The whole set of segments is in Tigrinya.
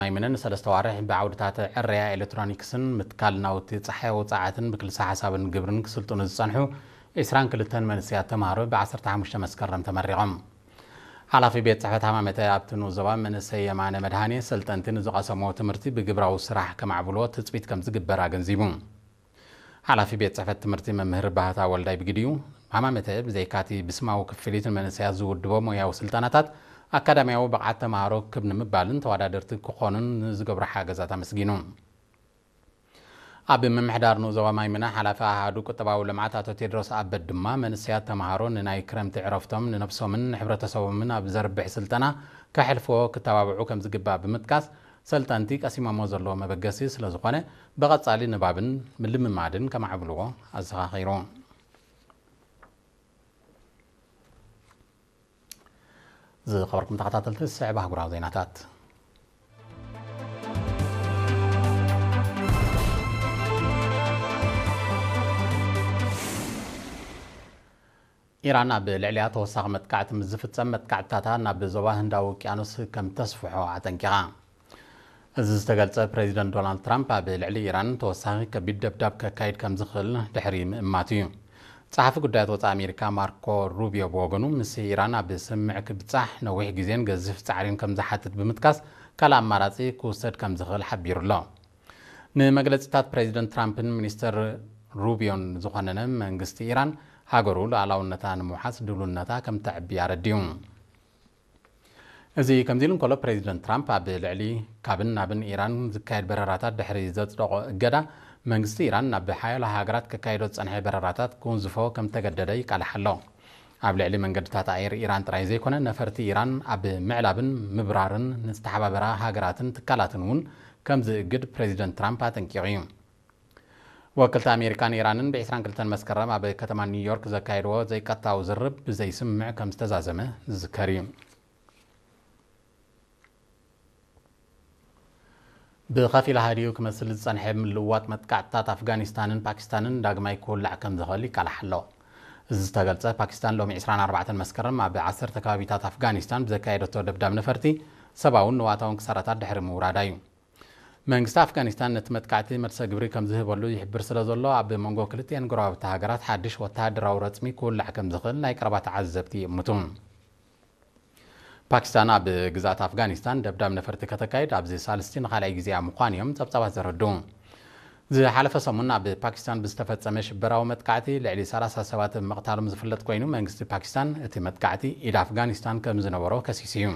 ማይምነ ንሰለስተ ዋርሕ ብዓውድታት ዕረያ ኤሌክትሮኒክስን ምትካል ናውቲ ጸሓያዊ ጸዓትን ብክልሰ ሓሳብን ግብርን ክስልጥኑ ዝጸንሑ ዕስራን ክልተን መንእሰያት ተምሃሮ ብ ዓሰርተ ሓሙሽተ መስከረም ተመሪቖም። ሓላፊ ቤት ጽሕፈት ሃማመተ ኣብቲ ንኡስ ዞባ መንእሰይ የማነ መድሃኔ፣ ሰልጠንቲ ንዝቐሰምዎ ትምህርቲ ብግብራዊ ስራሕ ከማዕብልዎ ትጽቢት ከም ዝግበር ኣገንዚቡ። ሓላፊ ቤት ጽሕፈት ትምህርቲ መምህር ባህታ ወልዳይ ብግዲኡ፣ ሃማመተ ብዘይካቲ ብስማዊ ክፍሊት ንመንእሰያት ዝውድቦ ሞያዊ ስልጠናታት፣ ኣካዳሚያዊ ብቕዓት ተምሃሮ ክብ ንምባልን ተወዳደርቲ ክኾኑን ንዝገብሮ ሓገዛት ኣመስጊኑ። ኣብ ምምሕዳር ንኡስ ዞባ ማይምነ ሓላፊ ኣሃዱ ቁጠባዊ ልምዓት ኣቶ ቴድሮስ ኣበድ ድማ፣ መንእሰያት ተምሃሮ ንናይ ክረምቲ ዕረፍቶም ንነብሶምን ንሕብረተሰቦምን ኣብ ዘርብሕ ስልጠና ከሕልፍዎ ክተባብዑ ከም ዝግባእ ብምጥቃስ፣ ሰልጠንቲ ቀሲሞሞ ዘለዉ መበገሲ ስለ ዝኾነ፣ ብቐጻሊ ንባብን ምልምማድን ከማዕብልዎ ኣዘኻኺሩ። ዝኸበርኩም ተኸታተልቲ፣ ዝስዕብ ኣህጉራዊ ዜናታት። ኢራን ኣብ ልዕሊኣ ተወሳኺ መጥቃዕቲ ምስ ዝፍጸም፣ መጥቃዕትታታ ናብ ዞባ ህንዳዊ ውቅያኖስ ከም ተስፍሖ ኣጠንቂቓ። እዚ ዝተገልጸ፣ ፕሬዚደንት ዶናልድ ትራምፕ ኣብ ልዕሊ ኢራን ተወሳኺ ከቢድ ደብዳብ ከካይድ ከም ዝኽእል ድሕሪ ምእማቱ እዩ። ጸሓፊ ጉዳያት ወጻኢ ኣሜሪካ ማርኮ ሩቢዮ ብወገኑ፣ ምስ ኢራን ኣብ ስምምዕ ክብጻሕ ነዊሕ ግዜን ገዚፍ ጻዕሪን ከም ዝሓትት ብምጥቃስ፣ ካልእ ኣማራጺ ክውሰድ ከም ዝኽእል ሓቢሩ ኣሎ። ንመግለጺታት ፕሬዚደንት ትራምፕን ሚኒስተር ሩቢዮን ዝኾነነ፣ መንግስቲ ኢራን ሃገሩ ሉዓላውነታ ንምውሓስ ድልውነታ ከም ተዕቢ ኣረዲኡ። እዚ ከምዚ ኢሉ እንከሎ፣ ፕሬዚደንት ትራምፕ ኣብ ልዕሊ ካብን ናብን ኢራን ዝካየድ በረራታት ድሕሪ ዘጽደቖ እገዳ፣ መንግስቲ ኢራን ናብ ሓያሎ ሃገራት ከካይዶ ዝጸንሐ በረራታት ክውንዝፎ ከም ተገደደ ይቃልሕ ኣሎ። ኣብ ልዕሊ መንገድታት ኣየር ኢራን ጥራይ ዘይኮነ፣ ነፈርቲ ኢራን ኣብ ምዕላብን ምብራርን ንዝተሓባበራ ሃገራትን ትካላትን እውን ከም ዝእግድ ፕሬዚደንት ትራምፕ ኣጠንቂቑ እዩ። ወከልቲ ኣሜሪካን ኢራንን ብ ዕስራን ክልተን መስከረም ኣብ ከተማ ኒውዮርክ ዘካየድዎ ዘይቀጥታዊ ዝርርብ ብዘይስምምዕ ከም ዝተዛዘመ ዝዝከር እዩ። ብኸፊል ሃዲኡ ክመስል ዝጸንሐ ምልውዋጥ መጥቃዕትታት ኣፍጋኒስታንን ፓኪስታንን ዳግማይ ክውላዕ ከም ዝኽእል ይቃላሕ ኣሎ። እዚ ዝተገልጸ፣ ፓኪስታን ሎሚ ዕስራን ኣርባዕተን መስከረም ኣብ ዓሰርተ ከባቢታት ኣፍጋኒስታን ብዘካየደቶ ደብዳብ ነፈርቲ ሰብኣውን ንዋታውን ክሳራታት ድሕሪ ምውራዳ እዩ። መንግስቲ ኣፍጋኒስታን ነቲ መጥቃዕቲ መልሰ ግብሪ ከም ዝህበሉ ይሕብር ስለ ዘሎ፣ ኣብ መንጎ ክልቲኤን ጎረባብቲ ሃገራት ሓድሽ ወተሃደራዊ ረጽሚ ክውላዕ ከም ዝኽእል ናይ ቀረባ ተዓዘብቲ ይእምቱ። ፓኪስታን ኣብ ግዝኣት ኣፍጋኒስታን ደብዳብ ነፈርቲ ከተካይድ ኣብዚ ሳልስቲ ንኻልኣይ ግዜኣ ምዃኑ እዮም ጸብጻባት ዘረድኡ። ዝሓለፈ ሰሙን ኣብ ፓኪስታን ብዝተፈጸመ ሽበራዊ መጥቃዕቲ ልዕሊ ሰላሳ ሰባት ምቕታሎም ዝፍለጥ ኮይኑ፣ መንግስቲ ፓኪስታን እቲ መጥቃዕቲ ኢድ ኣፍጋኒስታን ከም ዝነበሮ ከሲሱ እዩ።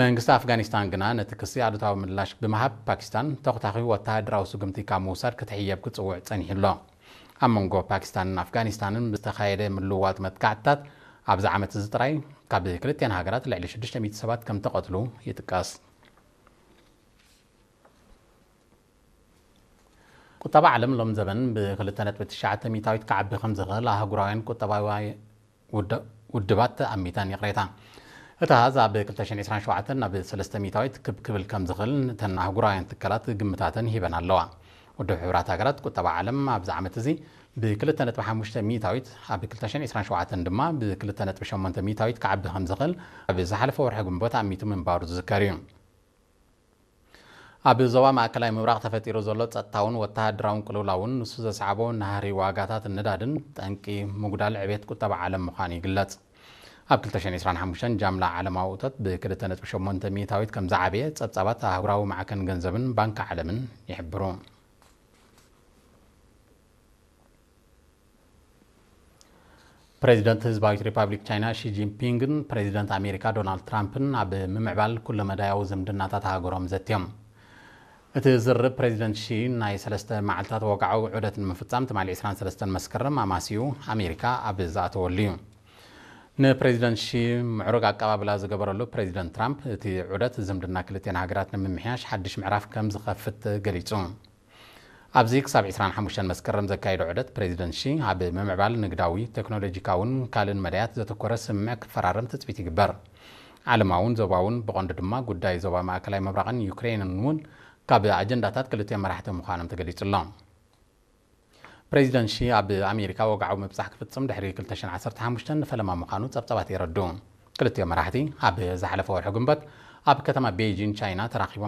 መንግስቲ ኣፍጋኒስታን ግና ነቲ ክሲ ኣሉታዊ ምላሽ ብምሃብ፣ ፓኪስታን ተኹታኺ ወተሃደራዊ ስጉምቲ ካብ ምውሳድ ክትሕየብ ክጽውዕ ጸኒሑ ኣሎ። ኣብ መንጎ ፓኪስታንን ኣፍጋኒስታንን ብዝተኻየደ ምልውዋጥ መጥቃዕትታት፣ ኣብዚ ዓመት እዚ ጥራይ ካብ ክልቲኤን ሃገራት ልዕሊ ሽዱሽተ ሚእቲ ሰባት ከም ተቐትሉ ይጥቀስ። ቁጠባ ዓለም ሎም ዘበን ብ ክልተ ነጥቢ ትሽዓተ ሚእታዊት ክዓቢ ከም ዝኽእል ኣህጉራውያን ቁጠባዊ ውድ-፣ ውድባት ኣሚተን። ይቕሬታ። እቲ ኣሃዝ ኣብ ክልተ ሽሕን ዕስራን ሸውዓተን ናብ ሰለስተ ሚእታዊት ክብ ክብል ከም ዝኽእል እተን ኣህጉራውያን ትካላት ግምታተን ሂበን ኣለዋ። ውድብ ሕቡራት ሃገራት ቁጠባ ዓለም ኣብዚ ዓመት እዚ ብ ክልተ ነጥቢ ሓሙሽተ ሚእታዊት፣ ኣብ ክልተ ሽሕን ዕስራን ሸውዓተን ድማ ብ ክልተ ነጥቢ ሸሞንተ ሚእታዊት ክዓቢ ከም ዝኽእል ኣብ ዝሓለፈ ወርሒ ግንቦት ኣሚቱ ምንባሩ ዝዝከር እዩ። ኣብ ዞባ ማእከላይ ምብራቕ ተፈጢሩ ዘሎ ጸጥታውን ወተሃደራውን ቅልውላውን ንሱ ዘስዓቦ ናህሪ ዋጋታት ነዳድን ጠንቂ ምጉዳል ዕቤት ቁጠባ ዓለም ምዃኑ ይግለጽ። ኣብ ክልተ ሽሕን ዕስራን ሓሙሽተን ጃምላ ዓለማዊ እቶት ብ ክልተ ነጥቢ ሸሞንተ ሚእታዊት ከም ዝዓበየ ጸብጻባት ኣህጉራዊ ማዕከን ገንዘብን ባንኪ ዓለምን ይሕብሩ። ፕሬዚደንት ህዝባዊት ሪፓብሊክ ቻይና ሺ ጂንፒንግን ፕሬዚደንት ኣሜሪካ ዶናልድ ትራምፕን ኣብ ምምዕባል ኩለመዳያዊ ዝምድናታት ሃገሮም ዘትዮም። እቲ ዝርርብ ፕሬዚደንት ሺ ናይ ሰለስተ መዓልታት ወግዓዊ ዑደት ንምፍጻም ትማሊ ዕስራን ሰለስተን መስከረም ኣማስዩ ኣሜሪካ ኣብ ዝኣተወሉ እዩ። ንፕሬዚደንት ሺ ምዕሩግ ኣቀባብላ ዝገበረሉ ፕሬዚደንት ትራምፕ፣ እቲ ዑደት ዝምድና ክልቲኤን ሃገራት ንምምሕያሽ ሓድሽ ምዕራፍ ከም ዝኸፍት ገሊጹ። ኣብዚ ክሳብ ዕስራን ሓሙሽተን መስከረም ዘካየዶ ዑደት ፕሬዚደንት ሺ፣ ኣብ ምምዕባል ንግዳዊ፣ ቴክኖሎጂካውን ካልእን መዳያት ዘተኮረ ስምምዕ ክፈራረም ትጽቢት ይግበር። ዓለማውን ዞባውን፣ ብቐንዱ ድማ ጉዳይ ዞባ ማእከላይ ምብራቕን ዩክሬንን እውን ካብ ኣጀንዳታት ክልቲኦም መራሕቲ ምዃኖም ተገሊጹ ኣሎ። ፕሬዚደንት ሺ ኣብ ኣሜሪካ ወግዓዊ ምብጻሕ ክፍጽም ድሕሪ ክልተ ሽሕን ዓሰርተ ሓሙሽተን ንፈለማ ምዃኑ ጸብጻባት የረድኡ። ክልቲኦም መራሕቲ ኣብ ዝሓለፈ ወርሒ ግንቦት ኣብ ከተማ ቤይጂን ቻይና ተራኺቦም